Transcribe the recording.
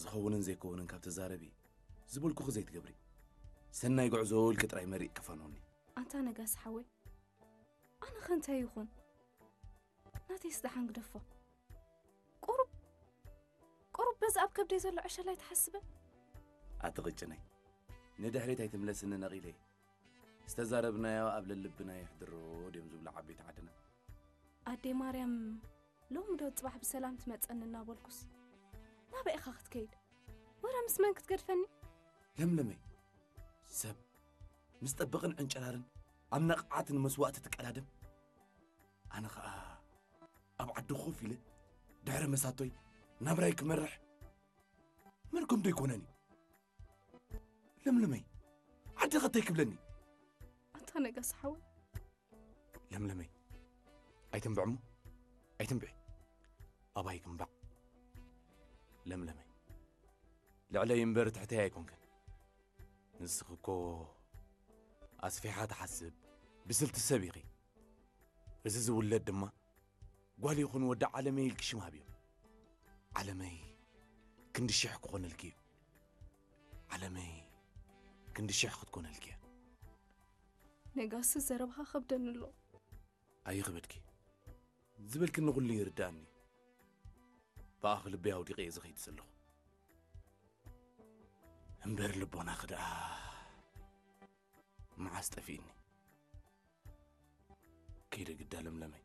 ዝኸውንን ዘይከውንን ካብ ተዛረቢ ዝበልኩኺ ዘይትገብሪ። ሰናይ ጉዕዞ ኢልኪ ጥራይ መሪቕ ክፋኖኒ። ኣንታ ነጋሲ ሓወይ፣ ኣነ ኸ እንታይ ይኹን? ናተይስ ደሓን ግደፎ። ቁሩብ ቁሩብ በዚ ኣብ ከብደይ ዘሎ ዕሸል ኣይትሓስበ። ኣትቕጭነይ። ንድሕሪት ኣይትምለስኒ ነቒለ። ዝተዛረብናዮ ኣብ ለልብና ይሕድሮ ድዮም ዝብሉ ዓበይቲ ዓድና። ኣዴ ማርያም ሎሚ ዶ ጽባሕ ብሰላም ትመጸኒ እናበልኩስ ናበይ ኢኻ ክትከይድ? ወረ ምስ መን ክትገድፈኒ? ለምለመይ፣ ሰብ ምስ ጠበቕን ዕንጨራርን ኣብ ነቕዓት ንመስዋእቲ ትቀዳደም። ኣነ ኸኣ ኣብ ዓዲ ኮፍ ኢለ ድሕሪ መሳቶይ ናብራይ ክመርሕ መርገም ዶ ይኮነን እዩ? ለምለመይ፣ ዓዲ ኸተይ ክብለኒ። ኣንታ ነጋሲ ሓወይ። ለምለመይ፣ ኣይትንብዕሞ፣ ኣይትንብዒ። ኣባይ ክንባዕ። ለምለመይ፣ ልዕለይ እምበር ትሕተይ ኣይኮንክን። ንስኺ እኮ ኣስፊሓ ትሓስብ ብስልቲ ሰብ ኢኺ። እዚ ዝውለድ ድማ ጓል ይኹን ወዲ ዓለመይ ኢልኪ ሽም ሃብዮ። ዓለመይ ክንዲ ሽሕ ክኾነልኪ እዩ። ዓለመይ ክንዲ ሽሕ ክትኮነልኪ እያ። ነጋሲ ዘረብኻ ከብደኒ ኣሎ። ኣይኽበድኪ። ዝበልክኒ ኩሉ ይርድኣኒ። ብኣኺ ልበይ ኣውዲቐ እየ ዝኸይድ ዘለኹ። እምበር ልቦናኺ ደኣ መዓስ ጠፊእኒ? ከይደ ግዳ ለምለመይ።